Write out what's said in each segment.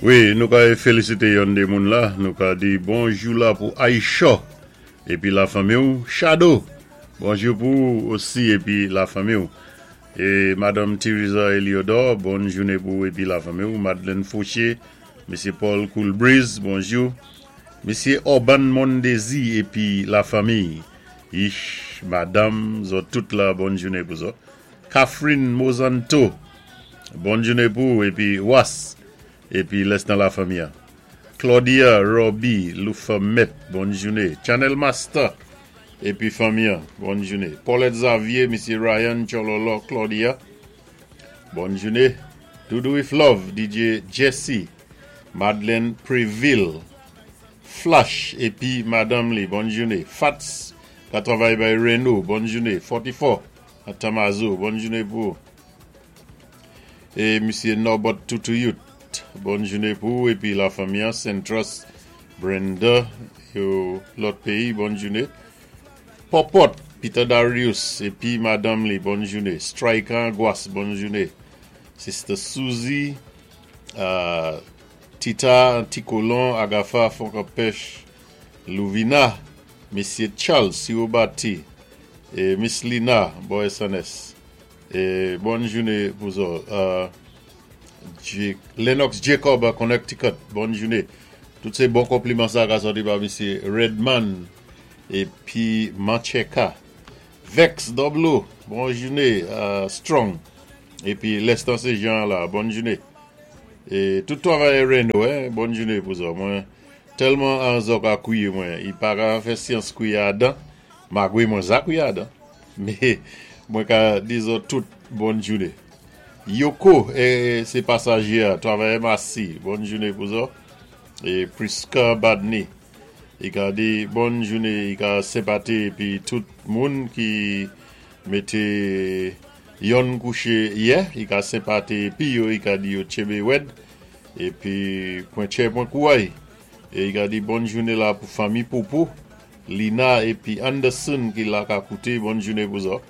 Wi, nou ka félisité yonn dé moun la, nou ka di bonjou la pou Aïcha épi la fanmi-w, Shadow, bonjou pou ou osi épi la fanmi-w. É Madanm Theresa Eliodor, bòn jouné pou ou épi la fanmi-w, Madeleine Fauché, Mésyé Paul Cool Breeze, bonjou. Mésyé Orban Mondésir épi la fanmiy, ich, madanm, zòt tout la bòn jouné pou zòt. Catherine Mozanto, bòn jouné pou ou épi Was épi lès nan la fanmi an. Claudia Roby Loufermet, bòn jouné. Channel Master épi fanmi an, bòn jouné. Paulette Xavier, Mésyé Ryan Tchololo Claudia, bòn jouné. Doudou with Love, DJ Jesse, Madeleine Préville, Flash épi madanm li, bòn jouné. Fats ka travay bay Reno, bòn jouné. 44 a Tamazo, bòn jouné pou ou. É Mésyé Norbert Toutouyut, bòn jouné pou ou épi la fanmi an, Centrus, Brenda, yo lòt péyi, bòn jouné. Popot, Peter Darius épi madanm li, bòn jouné. Striker Angoisse, bòn jouné. Sister Suzy, Tita Tikolon, Agafa Fonkanpèch, Louvina, Mésyé Charles Sirobati, é Miss Lina, bò SNS. É bòn jouné pou zòt. Lennox Jacob a Connecticut, bòn jouné. Tout sé bon konpliman sa ka sòti pa Mésyé Redman épi Mancheka. Vex Doblo, bon jouné, Strong. Épi Lestan sé Jean la, bòn jouné. É tout twavayè Reno, hein, bòn jouné pou zòt. Mwen tèlman an zò ka kwié mwen, i pa ka fè syans kwié a dan, magwé mwen za kwié a dan. Mé mwen ka di zòt tout bòn jouné. Yoko, é sé pasajé a, twavayè Massy, bòn jouné pou zòt. É Prisca Badney, i ka di bòn jouné, i ka senpati épi tout moun ki mété yonn kouché yè, i ka senpati épi yo, i ka di yo tchénbé wèd, épi pwen tchè pwen kouway. É i ka di bòn jouné la pou fanmi Popo, Lina épi Anderson ki la ka kouté, bòn jouné pou zòt.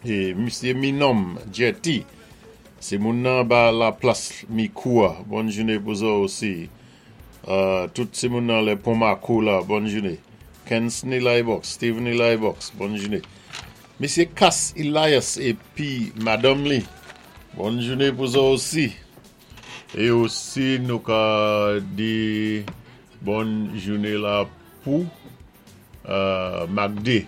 É Mésyé Minom Jetty, sé moun nan anba la plas Mikou a, bòn jouné pou zòt osi. Tout sé moun nan lè Pon Mako la, bòn jouné. Kensney Libox, Steveney Libox, bòn jouné. Mésyé Cass Elias épi madanm li, bòn jouné pou zòt osi. É osi nou ka di bòn jouné la pou Magde.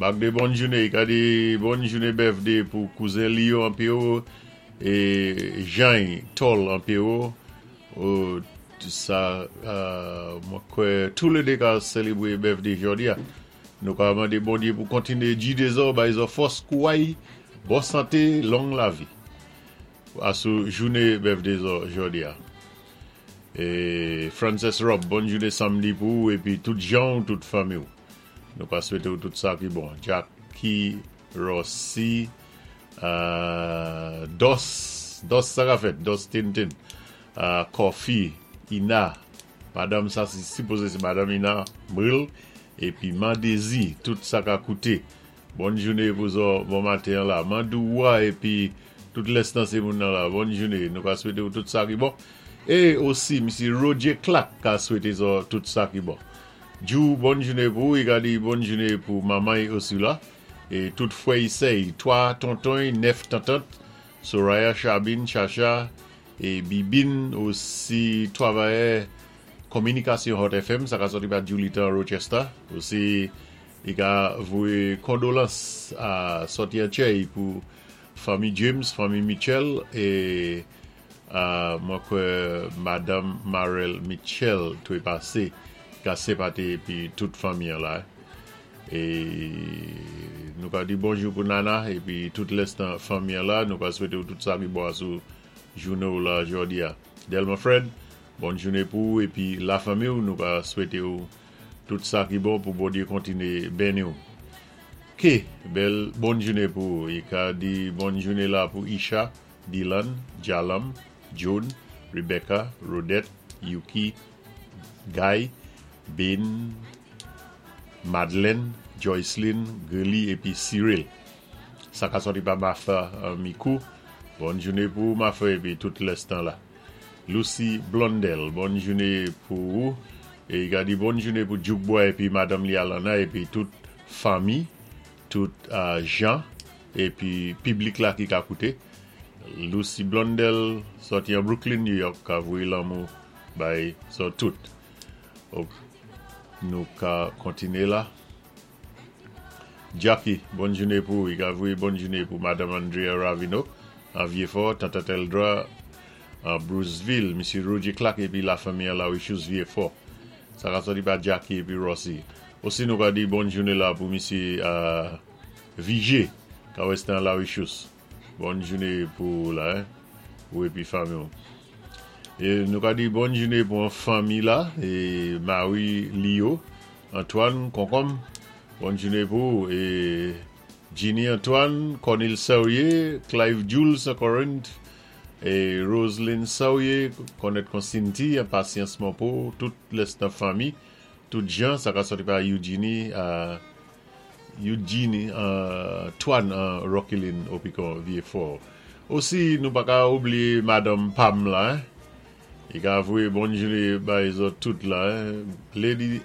Magde bòn jouné, i ka di bòn jouné birthday pou kouzen li yo an Pewo é Jany Tol an Pewo. Sa mwen kwè tou lé dé ka sélébwé birthday jòdi a. Nou ka mandé Bondyé pou kontiné gidé zò, bay zò fòs, kouway, bon santé, long lavi. Asou jouné birthday zò jòdi a. É Frances Rob, bòn jouné samdi pou ou épi tout jan ou, tout fanmi ou. Nou ka swété ou tout sa ki bon. Jackie Rossi, Dos, Dos sa ka fèt, Dos Tintin, Coffee, Ina, madanm sa si sipozé sé madanm Ina Bril, épi Mandezi, tout sa ka kouté. Bòn jouné pou zò, bon maten an la. Mandou Wa épi tout lès nan sé moun nan la. Bòn jouné, nou ka swété ou tout sa ki bon. É osi Misye Roger Clark ka swété zò tout sa ki bon. Djou, bòn jouné pou ou, i ka di bòn jouné pou manman y osi la. É tout fwè y sè y, 3 tonton y, 9 tantant, Soraya, Chabine, Chacha, é Bibine, osi twavayè Kominikasyon Hot FM, sa ka sòti pa Julita Rochester, osi i ka voyé kondolans a sòti an tchèy pou fanmi James, fanmi Mitchell é mwen kwè madanm Marel Mitchell twe pasé, i ka senpati épi tout fanmi an la. É nou ka di bonjou pou Nana épi tout lès nan fanmi an la, nou ka swété ou tout sa ki bon asou jouné ou la jòdi a. Delma Fred, Bòn jouné pou ou épi la fanmi ou, nou ka swété ou tout sa ki bon pou Bondyé kontiné benni ou. K, bèl bòn jouné pou ou. I ka di bòn jouné la pou Isha, Dylan, Jalam, Joan, Rebecca, Rodette, Yuki, Guy, Bin, Madeleine, Joyceline, Gurley épi Cyril. Sa ka sòti pa Martha Mikou. Bòn jouné pou ou Martha épi tout lès tan la. Lucy Blondel, bòn jouné pou ou. É i ka di bòn jouné pou Duke Boy épi madanm li Alana épi tout fanmi, tout jan épi piblik la ki ka kouté. Lucy Blondel sòti an Brooklyn, New York, ka voyé lanmou bay zòt tout. Nou ka kontiné la. Jackie, bòn jouné pou ou. I ka voyé bòn jouné pou Madanm Andrea Ravino an Vieux-Fort, Tante Teldra an Bruceville, Misye Roger Clark épi la fanmi an Larichouse Vieux-Fort. Sa ka sòti pa Jackie épi Rossi. Osi nou ka di bòn jouné la pou Misye Vigé ka wè an Larichouse. Bòn jouné pou ou la, ou épi fanmi ou. É nou ka di bòn jouné pou an fanmi la, é Marie Lio, Antoine Konkonm, bòn jouné pou ou. É Ginny Antoine, Cornil Saurier, Clive Jules an Corinth, é Roselyne Saurier, konnèt kon Cindy, an Patience Monpo, tout lès nan fanmi, tout jan, sa ka sòti pa Eugenie, Eugenie Antoine an Rockylin Opicon Vieux-Fort. Osi nou pa ka oubliyé madanm Pam la, i ka voyé bòn jouné bay zòt tout la. Lady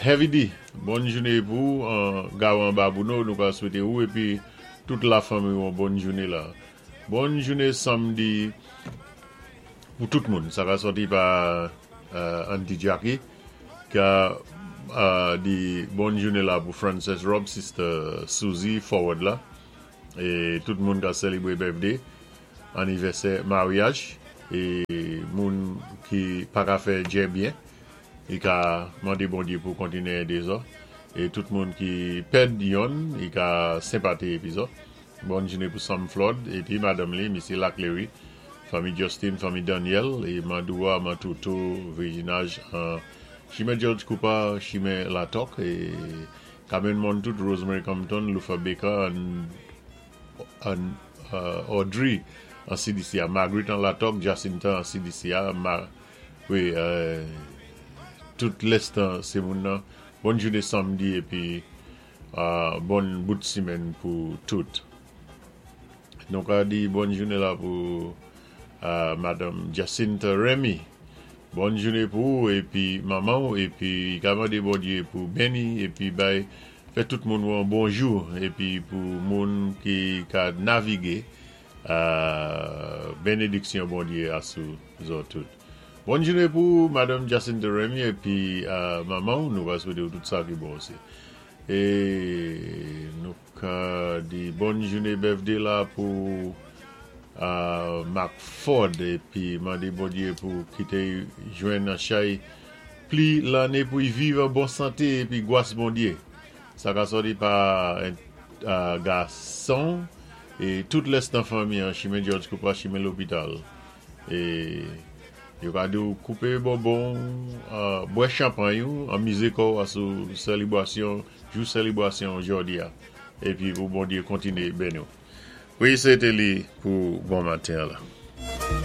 Heavy D, bòn jouné pou ou an Gawan Babouno, nou ka swété ou épi tout la fanmi ou an bòn jouné la. Bòn jouné samdi pou tout moun. Sa ka sòti pa Auntie Jackie ka di bòn jouné la pou Frances Rob, Sister Susie Forward la é tout moun ka sèlébré birthday, anivèsè, maryaj é moun ki pa ka fè djè byen, i ka mandé Bondyé pou kontiné édé zò é tout moun ki pèd yonn, i ka senpati épi zò. Bòn jouné pou Sam Flood épi madanm li Misye Laclery, fanmi Justin, fanmi Daniel é Mandoua, Mantouto, Virginage an Chimen George Cooper, Chimen Latòk é Carmen Montout, Rosemary Compton, Lufa Baker an an Audrey an CDC a, Marguerite an Latòk, Jacinta an CDC a, wi tout lèstan sé moun nan. Bòn jouné samdi épi bòn bout simenn pou tout. Nou ka di bòn jouné la pou Madanm Jacinta Remy. Bòn jouné pou ou épi manman ou épi ka mandé Bondyé pou béni épi bay fè tout moun wè yon bon jou épi pou moun ki ka navigé bénédiksyon Bondyé a sou zòt tout. Bòn jouné pou ou Madanm Jacinta Remy épi manman ou, nou va swété ou tout sa ki bon osi. É nou ka di bòn jouné birthday la pou Mark Ford épi mandé Bondyé pou kité jwenn an chay pli lanné pou y viv an bon santé épi gwas Bondyé. Sa ka sòti pa gason é tout lès nan fanmi an chimen George Cooper, chimen lopital. É yo ka di ou koupé bonbon ou, bwè chanpay ou, anmizé kò ou asou sèlibrasyon, jou sèlibrasyon jòdi a. Épi pou Bondyé kontiné béni ou. Wi, sé té li pou bon maten an la.